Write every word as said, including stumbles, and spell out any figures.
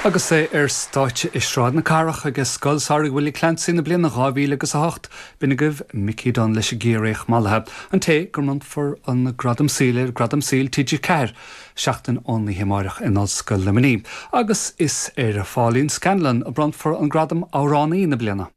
Agus é ar stáitse i Sráid na Cathrach ag Scoil Samhraidh Willie Clancy na bliana dhá mhíle agus a hocht, b'in agaibh Mickey Dunne leis an gCiarraíoch Mallaithe, an té go mbronnfar an Gradam Saoil ar Gradam Saoil T G Ceathair, seachtain ón oíche amárach in Ollscoil Luimnigh, agus is ar Pháilín Scanlon a bronnfar an Gradam Amhránaí na bliana.